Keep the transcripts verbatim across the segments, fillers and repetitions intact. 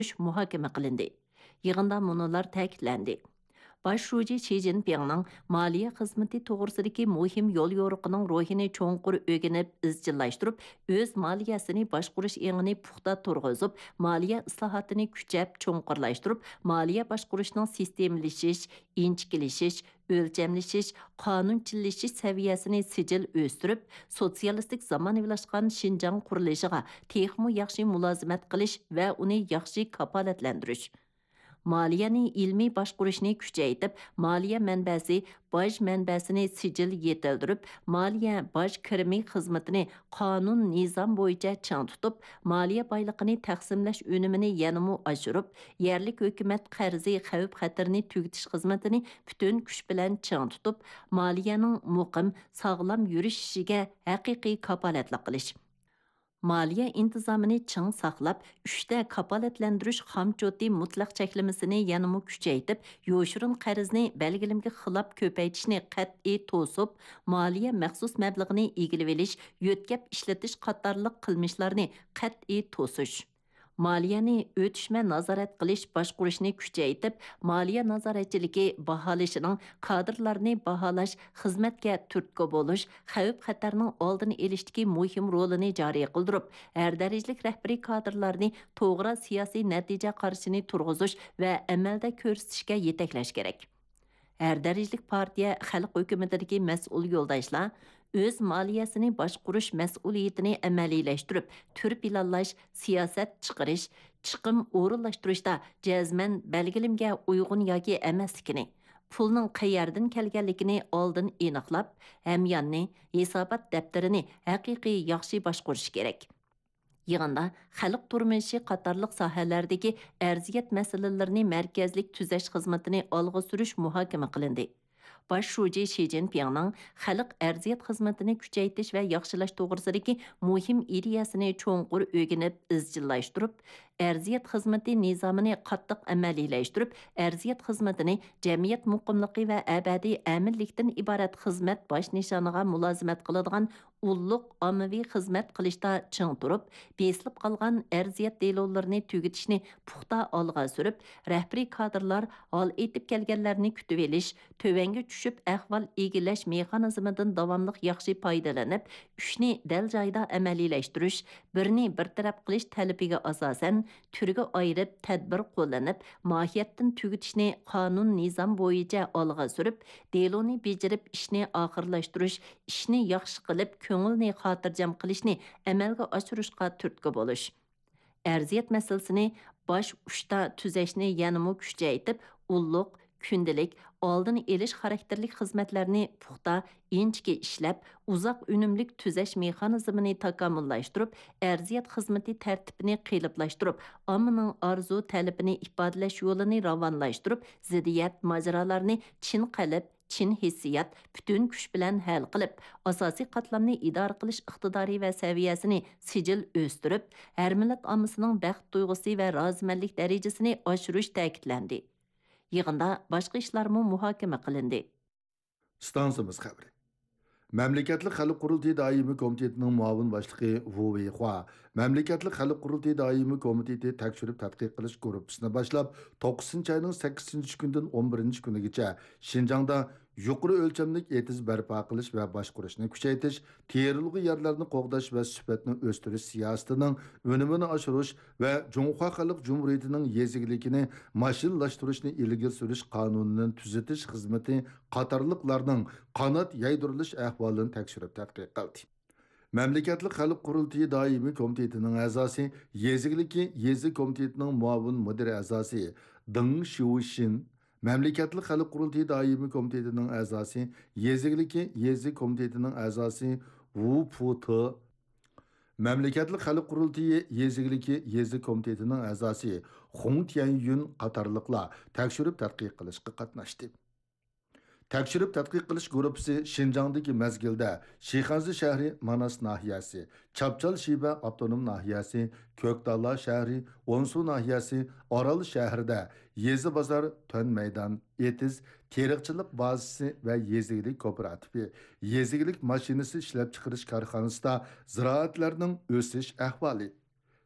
ئالغا سۈرۈش مۇھاكىمە قىلىندى. يىغىندا مۇنۇلار تەكىتلەندى. باش شۇجى شى جىنپىڭنىڭ مالىيە خىزمىتى توغرىسىدىكى مۇھىم يوليورۇقىنىڭ روھىنى چوڭقۇر ئۆگىنىپ ئىزچىللاشتۇرۇپ، ئۆز مالىيەسىنى باشقۇرۇش ئېڭىنى پۇختا تۇرغۇزۇپ، مالىيە ئىسلاھاتىنى كۈچەپ چوڭقۇرلاشتۇرۇپ، مالىيە باشقۇرۇشنىڭ سىستېمىلىشىش، ئىنچىكىلىشىش، ئۆلچەملىشىش، قانۇنچىللىشىش سەۋىيەسىنى سىجىل ئۆستۈرۈپ، سوتسىيالىستىك زامانىۋىلاشقان شىنجاڭ قۇرۇلۇشىغا تېخىمۇ ياخشى مۇلازىمەت قىلىش ۋە ئۇنى ياخشى كاپالەتلەندۈرۈش. مالىيەنى ئىلمىي باشقۇرۇشنى كۈچەيتىپ، مالىيە مەنبەسى، باج مەنبەسىنى سىجىل يېتىلدۈرۈپ، مالىيە باج كىرىمى خىزمىتىنى قانۇن، نىزام بويىچە چىڭ تۇتۇپ، مالىيە بايلىقىنى تەقسىملەش ئۈنۈمىنى يەنىمۇ ئاشۇرۇپ، يەرلىك ھۆكۈمەت قەرزى خەۋپ-خەتىرىنى تۈگىتىش خىزمىتىنى پۈتۈن كۈچ بىلەن چىڭ تۇتۇپ، مالىيەنىڭ مۇقىم، ساغلام يۈرۈشۈشىگە ھەقىقىي كاپالەتلىك قىلىش. مالىيە ئىنتىزامىنى چىڭ ساقلاپ، ئۈچتە كاپالەتلەندۈرۈش خامچوتى مۇتلەق چەكلىمىسىنى يەنىمۇ كۈچەيتىپ، يوشۇرۇن قەرزنى بەلگىلىمىگە خىلاپ كۆپەيتىشنى قەتئىي توسۇپ، مالىيە مەخسۇس مەبلىغىنى ئىگىلىۋېلىش، يۆتكەپ ئىشلىتىش قاتارلىق قىلمىشلارنى قەتئىي توسۇش. مالىيەنى ئۆتۈشمە نازارەت قىلىش، باشقۇرۇشنى كۈچەيتىپ، مالىيە نازارەتچىلىكى باھالىشىنىڭ كادىرلارنى باھالاش، خىزمەتكە تۈرتكە بولۇش، خەۋپ-خەتەرنىڭ ئالدىنى ئېلىشتىكى مۇھىم رولىنى جارى قىلدۇرۇپ، ھەر دەرىجىلىك رەھبىرىي كادىرلارنى توغرا سىياسىي نەتىجە قارىشىنى تۇرغۇزۇش ۋە ئەمەلدە كۆرسىتىشكە يېتەكلەش كېرەك. ھەر دەرىجىلىك پارتىيە، خەلق ھۆكۈمىتىدىكى مەسئۇل يولداشلار ئۆز مالىيەسىنى باشقۇرۇش مەسئۇلىيىتىنى ئەمەلىيلەشتۈرۈپ، تۈر پىلانلاش، سىياسەت چىقىرىش، چىقىم ئورۇنلاشتۇرۇشتا جەزمەن بەلگىلىمىگە ئۇيغۇن ياكى ئەمەسلىكىنى، پۇلنىڭ قەيەردىن كەلگەنلىكىنى ئالدىن ئېنىقلاپ، ھەمياننى، ھېسابات دەپتىرىنى ھەقىقىي ياخشى باشقۇرۇش كېرەك. يىغىندا خەلق تۇرمۇشى قاتارلىق ساھەلەردىكى ئەرزىيەت مەسىلىلىرىنى مەركەزلىك تۈزەش خىزمىتىنى ئالغا سۈرۈش مۇھاكىمە قىلىندى. باش شۇجى شى جىنپىڭنىڭ خەلق ئەرزىيەت خىزمىتىنى كۈچەيتىش ۋە ياخشىلاش توغرىسىدىكى مۇھىم ئىدىيەسىنى چوڭقۇر ئۆگىنىپ ئىزچىللاشتۇرۇپ، ئەرزىيەت خىزمىتى نىزامىنى قاتتىق ئەمەلىيلەشتۈرۈپ، ئەرزىيەت خىزمىتىنى جەمئىيەت مۇقىملىقى ۋە ئەبەدىي ئەمىنلىكتىن ئىبارەت خىزمەت باش نىشانىغا مۇلازىمەت قىلىدىغان ئۇللۇق ئاممىۋى خىزمەت قىلىشتا چىڭ تۇرۇپ، بېسىلىپ قالغان ئەرزىيەت دېلولىرىنى تۈگىتىشنى پۇختا ئالغا سۈرۈپ، رەھبىرىي كادىرلار ھال ئېيتىپ كەلگەنلەرنى كۈتۈۋېلىش، تۆۋەنگە چۈشۈپ ئەھۋال ئىگىلەش مېخانىزمىدىن داۋاملىق ياخشى پايدىلىنىپ، ئۈچنى دەل جايىدا ئەمەلىيلەشتۈرۈش، بىرنى بىر تەرەپ قىلىش تەلىپىگە ئاساسەن، تۈرگە ئايرىپ، تەدبىر قوللىنىپ، ماھىيەتتىن تۈگىتىشنى قانۇن، نىزام بويىچە ئالغا سۈرۈپ، دېلونى بېجىرىپ، ئىشنى ئاخىرلاشتۇرۇش، ئىشنى ياخشى قىلىپ، كۆڭۈلنى خاتىرجەم قىلىشنى ئەمەلگە ئاشۇرۇشقا تۈرتكە بولۇش. ئەرزىيەت مەسىلىسىنى باش ئۇچتا تۈزەشنى يەنىمۇ كۈچەيتىپ، ئۇللۇق، كۈندىلىك، ئالدىنى ئېلىش خاراكتېرلىك خىزمەتلەرنى پۇختا، ئىنچىكە ئىشلەپ، ئۇزاق ئۈنۈملۈك تۈزەش مېخانىزمىنى تاكامۇللاشتۇرۇپ، ئەرزىيەت خىزمىتى تەرتىپىنى قېلىپلاشتۇرۇپ، ئاممىنىڭ ئارزۇ، تەلىپىنى ئىپادىلەش يولىنى راۋانلاشتۇرۇپ، زىددىيەت، ماجىرالارنى چىن قەلب، چىن ھېسسىيات، پۈتۈن كۈچ بىلەن ھەل قىلىپ، ئاساسىي قاتلامنى ئىدارە قىلىش ئىقتىدارى ۋە سەۋىيەسىنى سىجىل ئۆستۈرۈپ، ھەر مىللەت ئاممىسىنىڭ بەخت تۇيغۇسى ۋە رازىمەنلىك دەرىجىسىنى ئاشۇرۇش تەكىتلەندى. يىغىندا باشقا ئىشلارمۇ مۇھاكىمە قىلىندى. ئىستانسىمىز خەۋىرى. مەملىكەتلىك خەلق قۇرۇلتىيى دائىمىي كومىتېتىنىڭ مۇئاۋىن باشلىقى ۋۇ ۋېيخۇا مەملىكەتلىك خەلق قۇرۇلتىيى دائىمىي كومىتېتى تەكشۈرۈپ تەتقىق قىلىش گۇرۇپپىسىنى باشلاپ، توققۇزىنچى ئاينىڭ سەككىزىنچى كۈنىدىن ئون بىرىنچى كۈنىگىچە شىنجاڭدا يۇقىرى ئۆلچەملىك ئېتىز بەرپا قىلىش ۋە باشقۇرۇشنى كۈچەيتىش، تېرىلغۇ يەرلەرنى قوغداش ۋە سۈپەتنى ئۆستۈرۈش سىياسىتىنىڭ ئۈنۈمىنى ئاشۇرۇش ۋە جۇڭخۇا خەلق جۇمھۇرىيىتىنىڭ يېزا ئىگىلىكىنى ماشىنىلاشتۇرۇشنى ئىلگىرى سۈرۈش قانۇنىنى تۈزىتىش خىزمىتى قاتارلىقلارنىڭ قانات يايدۇرۇلۇش ئەھۋالىنى تەكشۈرۈپ تەتقىق قىلدى. مەملىكەتلىك خەلق قۇرۇلتىيى دائىمىي كومىتېتىنىڭ ئەزاسى، يېزا ئىگىلىكى يېزا كومىتېتىنىڭ مۇئاۋىن مۇدىر ئەزاسى دېڭ شيۇشىن، مەملىكەتلىك خەلق قۇرۇلتىيى دائىمىي كومىتېتىنىڭ ئەزاسى، يېزا ئىگىلىكى يېزا كومىتېتىنىڭ ئەزاسى ۋۇ پۇتې، مەملىكەتلىك خەلق قۇرۇلتىيى يېزا ئىگىلىكى يېزا كومىتېتىنىڭ ئەزاسى خۇڭ تيەنيۈن قاتارلىقلار تەكشۈرۈپ تەتقىق قىلىشقا قاتناشتى. تەكشۈرۈپ تەتقىق قىلىش گۇرۇپپىسى شىنجاڭدىكى مەزگىلدە شىخەنزە شەھىرى، ماناس ناھىيەسى، چاپچال شىبە ئاپتونوم ناھىيەسى، كۆكتالا شەھىرى، ئونسۇ ناھىيەسى، ئارال شەھىرىدە يېزا بازار، تۆن مەيدان، ئېتىز، تېرىقچىلىق بازىسى ۋە يېزا ئىگىلىك كوپىراتىپى، يېزا ئىگىلىك ماشىنىسى ئىشلەپچىقىرىش كارخانىسىدا زىرائەتلەرنىڭ ئۆسۈش ئەھۋالى،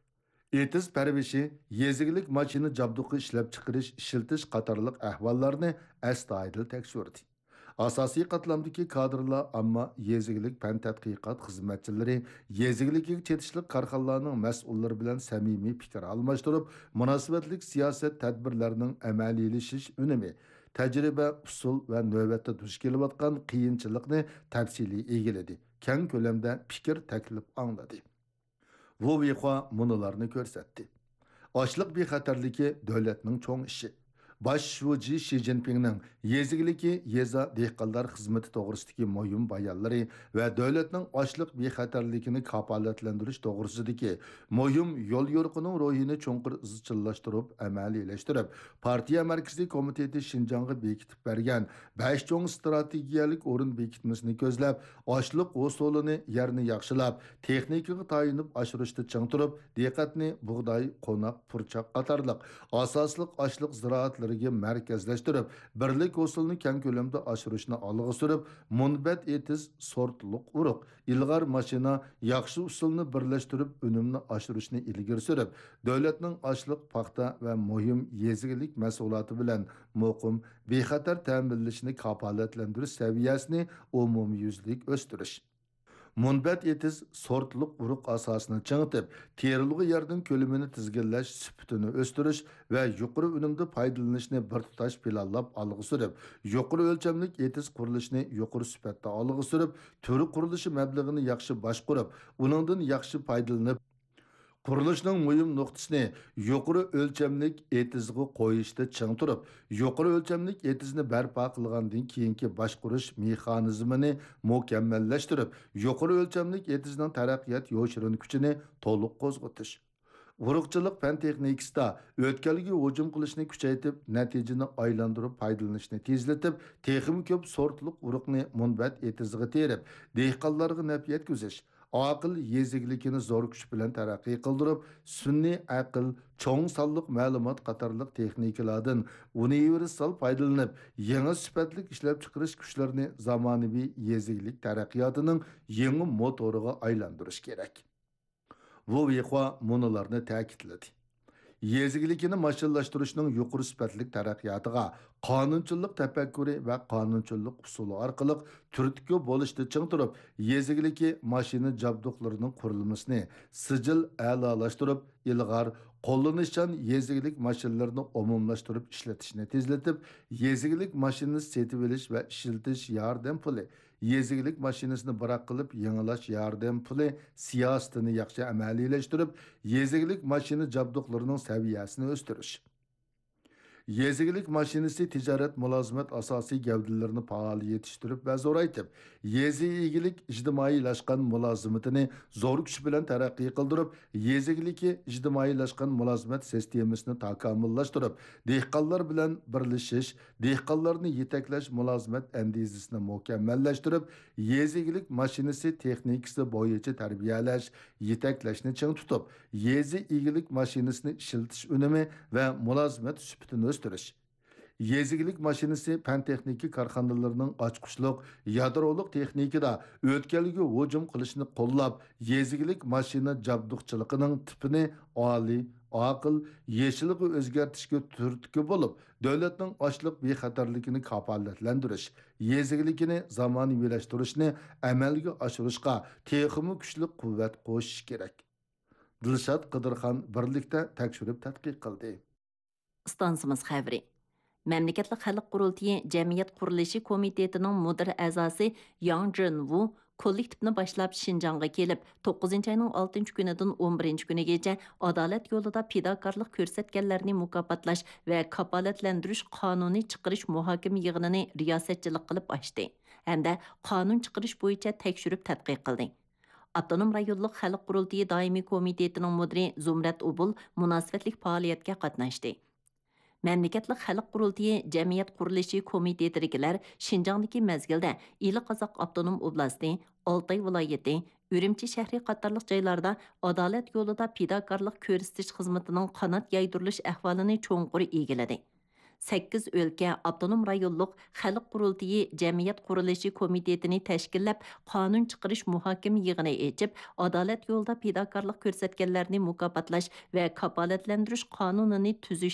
ئېتىز پەرۋىشى، يېزا ئىگىلىك ماشىنا جابدۇقى ئىشلەپچىقىرىش، ئىشلىتىش قاتارلىق ئەھۋاللارنى ئەستايىدىل تەكشۈردى. ئاساسىي قاتلامدىكى كادىرلار ئامما يېزا ئىگىلىك پەن تەتقىقات خىزمەتچىلىرى، يېزا ئىگىلىكىگە چېتىشلىق كارخانىلارنىڭ مەسئۇللىرى بىلەن سەمىمىي پىكىر ئالماشتۇرۇپ، مۇناسىۋەتلىك سىياسەت تەدبىرلەرنىڭ ئەمەلىيلىشىش ئۈنۈمى، تەجرىبە، ئۇسۇل ۋە نۆۋەتتە دۇچ كېلىۋاتقان قىيىنچىلىقنى تەپسىلىي ئىگىلىدى، كەڭ كۆلەمدە پىكىر تەكلىپ ئاڭلىدى. ۋۇ ۋېيخۇا مۇنۇلارنى كۆرسەتتى: ئاشلىق بىخەتەرلىكى دۆلەتنىڭ چوڭ ئىشى. باش شۇجى شى جىنپىڭنىڭ يېزا ئىگىلىكى، يېزا، دېھقانلار خىزمىتى توغرىسىدىكى مۇھىم بايانلىرى ۋە دۆلەتنىڭ ئاشلىق بىخەتەرلىكىنى كاپالەتلەندۈرۈش توغرىسىدىكى مۇھىم يوليورۇقىنىڭ روھىنى چوڭقۇر ئىزچىللاشتۇرۇپ ئەمەلىيلەشتۈرۈپ، پارتىيە مەركىزىي كومىتېتى شىنجاڭغا بېكىتىپ بەرگەن بەش چوڭ ئىستراتېگىيەلىك ئورۇن بېكىتمىسىنى كۆزلەپ، ئاشلىق ھوسۇلىنى، يەرنى ياخشىلاپ، تېخنىكىغا تايىنىپ ئاشۇرۇشتا چىڭ تۇرۇپ، دىققەتنى بۇغداي، قوناق، پۇرچاق قاتارلىق ئاساسلىق ئاشلىق زىرائەتلىرىگە مەركەزلەشتۈرۈپ، بىرلىك ھوسۇلنى كەڭ كۆلەمدە ئاشۇرۇشنى ئالغا سۈرۈپ، مۇنبەت ئېتىز، سورتلۇق ئۇرۇق، ئىلغار ماشىنا، ياخشى ئۇسۇلنى بىرلەشتۈرۈپ، ئۈنۈمنى ئاشۇرۇشنى ئىلگىرى سۈرۈپ، دۆلەتنىڭ ئاشلىق، پاختا ۋە مۇھىم يېزا ئىگىلىك مەھسۇلاتى بىلەن مۇقىم، بىخەتەر تەمىنلىشىنى كاپالەتلەندۈرۈش سەۋىيەسىنى ئومۇميۈزلۈك ئۆستۈرۈش. مۇنبەت ئېتىز سورتلۇق ئۇرۇق ئاساسىنى چىڭىتىپ، تېرىلغۇ يەرنىڭ كۆلىمىنى تىزگىنلەش سۈپىتىنى ئۆستۈرۈش ۋە يۇقىرى ئۈنۈمدە پايدىلىنىشنى بىر تۇتاش پىلانلاپ ئالغا سۈرۈپ، يۇقىرى ئۆلچەملىك ئېتىز قۇرۇلۇشىنى يۇقىرى سۈپەتتە ئالغا سۈرۈپ، تۈر قۇرۇلۇشى مەبلىغىنى ياخشى باشقۇرۇپ، ئۇنىڭدىن ياخشى پايدىلىنىپ، قۇرۇلۇشنىڭ مۇھىم نۇقتىسىنى يۇقىرى ئۆلچەملىك ئېتىزغا قويۇشتا چىڭ تۇرۇپ، يۇقىرى ئۆلچەملىك ئېتىزنى بەرپا قىلغاندىن كېيىنكى باشقۇرۇش مېخانىزمىنى مۇكەممەللەشتۈرۈپ، يۇقىرى ئۆلچەملىك ئېتىزنىڭ تەرەققىيات يوشۇرۇن كۈچىنى تولۇق قوزغىتىش. ئۇرۇقچىلىق پەن تېخنىكىسىدا ئۆتكەلگە ھۇجۇم قىلىشنى كۈچەيتىپ، نەتىجىنى ئايلاندۇرۇپ پايدىلىنىشنى تېزلىتىپ، تېخىمۇ كۆپ سورتلۇق ئۇرۇقنى مۇنبەت ئېتىزىغا تېرىپ، دېھقانلارغا نەپ يەتكۈزۈش، ئاقىل يېزا ئىگىلىكىنى زور كۈچ بىلەن تەرەققىي قىلدۇرۇپ، سۈنئىي ئەقىل، چوڭ سانلىق مەلۇمات قاتارلىق تېخنىكىلاردىن ئۇنىۋېرسال پايدىلىنىپ، يېڭى سۈپەتلىك ئىشلەپچىقىرىش كۈچلىرىنى زامانىۋى يېزا ئىگىلىك تەرەققىياتىنىڭ يېڭى موتورىغا ئايلاندۇرۇش كېرەك. ۋۇ ۋېيخۇا مۇنۇلارنى تەكىتلىدى: يېزا ئىگىلىكىنى ماشىنىلاشتۇرۇشنىڭ يۇقىرى سۈپەتلىك تەرەققىياتىغا قانۇنچىلىق تەپەككۇرى ۋە قانۇنچىلىق ئۇسۇلى ئارقىلىق تۈرتكە بولۇشتا چىڭ تۇرۇپ، يېزا ئىگىلىكى ماشىنا جابدۇقلىرىنىڭ قۇرۇلمىسىنى سىجىل ئەلالاشتۇرۇپ، ئىلغار، قوللىنىشچان يېزا ئىگىلىك ماشىنىلىرىنى ئومۇملاشتۇرۇپ ئىشلىتىشنى تېزلىتىپ، يېزا ئىگىلىك ماشىنىسى سېتىۋېلىش ۋە ئىشلىتىش ياردەم پۇلى، يېزا ئىگىلىك ماشىنىسىنى بىراق قىلىپ يېڭىلاش ياردەم پۇلى سىياسىتىنى ياخشى ئەمەلىيلەشتۈرۈپ، يېزا ئىگىلىك ماشىنا جابدۇقلىرىنىڭ سەۋىيەسىنى ئۆستۈرۈش. يېزا ئىگىلىك ماشىنىسى تىجارەت مۇلازىمەت ئاساسىي گەۋدىلىرىنى پائال يېتىشتۈرۈپ ۋە زورايتىپ، يېزا ئىگىلىك ئىجتىمائىيلاشقان مۇلازىمىتىنى زور كۈچ بىلەن تەرەققىي قىلدۇرۇپ، يېزا ئىگىلىكى ئىجتىمائىيلاشقان مۇلازىمەت سىستېمىسىنى تاكامۇللاشتۇرۇپ، دېھقانلار بىلەن بىرلىشىش، دېھقانلارنى يېتەكلەش مۇلازىمەت ئەندىزىسىنى مۇكەممەللەشتۈرۈپ، يېزا ئىگىلىك ماشىنىسى تېخنىكىسى بويىچە تەربىيەلەش، يېتەكلەشنى چىڭ تۇتۇپ، يېزا ئىگىلىك ماشىنىسىنى ئىشلىتىش ئۈنۈمى ۋە مۇلازىمەت سۈپىتىنى ئۆستۈرۈش. يېزا ئىگىلىك ماشىنىسى پەن تېخنىكا كارخانىلىرىنىڭ ئاچقۇچلۇق يادرولۇق تېخنىكىدا ئۆتكەلگە ھۇجۇم قىلىشنى قوللاپ، يېزا ئىگىلىك ماشىنا جابدۇقچىلىقىنىڭ تىپىنى ئالىي، ئاقىل، يېشىلغا ئۆزگەرتىشكە تۈرتكە بولۇپ، دۆلەتنىڭ ئاشلىق بىخەتەرلىكىنى كاپالەتلەندۈرۈش، يېزا ئىگىلىكىنى زامانىۋىلاشتۇرۇشنى ئەمەلگە ئاشۇرۇشقا تېخىمۇ كۈچلۈك قۇۋۋەت قوشۇش كېرەك. دىلشات قىدىرخان بىرلىكتە تەكشۈرۈپ تەتقىق قىلدى. ئىستانسىمىز خەۋىرى. مەملىكەتلىك خەلق قۇرۇلتىيى جەمئىيەت قۇرۇلۇشى كومىتېتىنىڭ مۇدىر ئەزاسى ياڭ جىنۋۇ كوللېكتىپنى باشلاپ شىنجاڭغا كېلىپ، توققۇزىنچى ئاينىڭ ئالتىنچى كۈنىدىن ئون بىرىنچى كۈنىگىچە ئادالەت يولىدا پىداكارلىق كۆرسەتكەنلەرنى مۇكاپاتلاش ۋە كاپالەتلەندۈرۈش قانۇنى چىقىرىش مۇھاكىمە يىغىنىنى رىياسەتچىلىك قىلىپ ئاچتى ھەمدە قانۇن چىقىرىش بويىچە تەكشۈرۈپ تەتقىق قىلدى. ئاپتونوم رايونلۇق خەلق قۇرۇلتىيى دائىمىي كومىتېتىنىڭ مۇدىرى زۇمرەت ئوبۇل مۇناسىۋەتلىك پائالىيەتكە قاتناشتى. مەملىكەتلىك خەلق قۇرۇلتىيى جەمئىيەت قۇرۇلۇشى كومىتېتىدىكىلەر شىنجاڭدىكى مەزگىلدە ئىلى قازاق ئاپتونوم ئوبلاستى، ئالتاي ۋىلايىتى، ئۈرۈمچى شەھىرى قاتارلىق جايلاردا ئادالەت يولىدا پىداكارلىق كۆرسىتىش خىزمىتىنىڭ قانات يايدۇرۇلۇش ئەھۋالىنى چوڭقۇر ئىگىلىدى. سەككىز ئۆلكە، ئاپتونوم رايونلۇق خەلق قۇرۇلتىيى جەمئىيەت قۇرۇلۇشى كومىتېتىنى تەشكىللەپ، قانۇن چىقىرىش مۇھاكىمە يىغىنى ئېچىپ، ئادالەت يولىدا پىداكارلىق كۆرسەتكەنلەرنى مۇكاپاتلاش ۋە كاپالەتلەندۈرۈش قانۇنىنى تۈزۈش